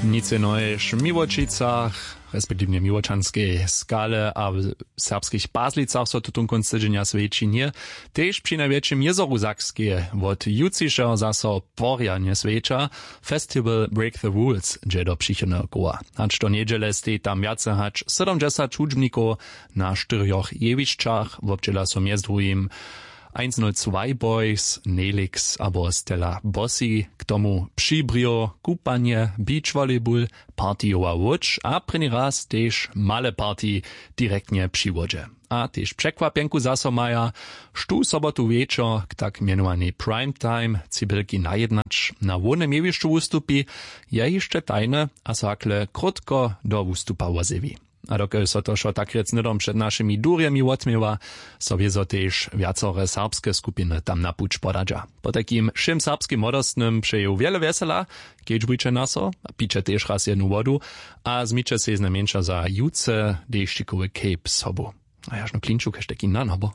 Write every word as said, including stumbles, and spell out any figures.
Nic jenož w Miłočicach, respektiwnje w Miłočanskej Skale a w serbskich Pazlicach so tutón kónc tydźenja swjeći nje. Tež při najwjetšim jězoru Sakskeje wot jutřišeho zaso porjadnje swjeća. Festival Break the Rules dźe do přichodneho koła. Hač do njedźele stej tam wjace hač sydomdźesać hudźbnikow na štyrjoch jewišćach. Wobdźěla so mjez druhim eins null zwei Boys, Nelix abo Stella Bossi, k tomu Přibrjo, kupanje, beach volleyball, partijowa łódź a prěni raz tež male party direktnje při wodźe. A tež překwapjenku zaso maja, štó sobotu wječor k tak mjenowanej prime time cibelki najednać na hłownym jewišću wustupi, je hišće tajne a so hakle krótko do wustupa wozjewi. A dokelž so to wšo tak rjec hnydom před našimi durjemi wotměła, so wězo tež wjacore serbske skupiny tam na puć podadźa. Potajkim wšěm serbskim młodostnym přeju wjele wjesela, kedźbujće na so a piće tež raz jednu wodu a změće sej znajmjeńša za jutře dešćikowy cape sobu. A jažno klinču kaž taki nan abo